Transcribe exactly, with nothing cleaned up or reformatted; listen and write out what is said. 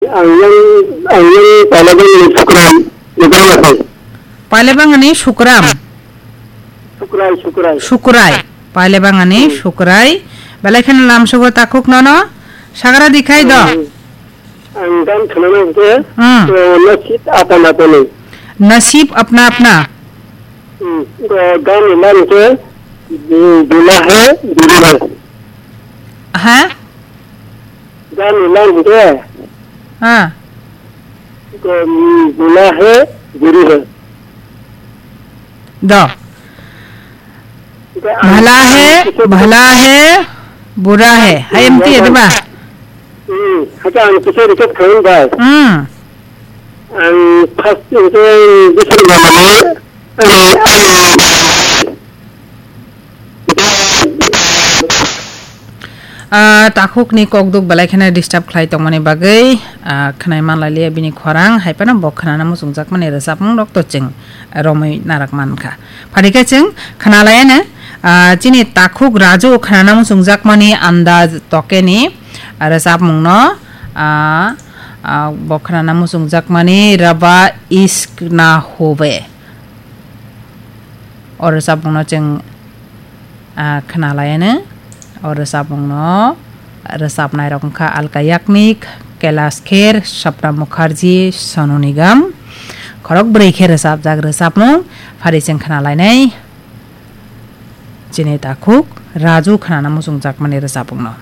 Ang yang, ang yang Palebang ni Sukram, Meghalaya. Palebang ni Sukram. Sukrai, Sukrai. Sukrai. Palebang ni Hmm. Sukrai. Belai kheno lamsogo takhuk nono. Sagra dikhai do. Hmm. Ang dan khwnano hwnkhe, Hmm. eh, nasib apna apni. Nasib apna apna. Hmm. Eh, dan ilan ke, hmm, bula hai, buri hai. Ha? Dan ilan ke. Ha. Em, bula hai, buri hai. Do. Bhala hai, bhala hai, bura hai. Hai, em ti, diba? Hmm, hake ang kisa request khaim bai. Hmm. Ang first hwnkhe Bishnu Bhamani, ani, ani. Ah, takhukni kokduk belai kheno disturb khlai tongmani bagwi, ah, khwnai manlailia bini khorang, hai phano bo khwnana muchungjakmani rwchapmung rok to chwng romwi narak mankha. Phadikhe chwng khwnalaiano, ah, chini takhuk Raju khwnana muchungjakmani Andaz Tokeni, ah, rwchapmungno, ah, ah, bo khwnana muchungjakmani Raba Ishq Na Hobe. O rwchapmungno chwng, ah, khwnalaiano. O rwchapmungno rwchapnairok wngkha Alka Yagnik, Kailash Kher, Sapna Mukherjee, Sonu Nigam. Khorok bwrwi khe rwchapjak rwchapmung phari chwng khwnalainai. Chini takhuk Raju khwnana muchungjakmani rwchapmungno.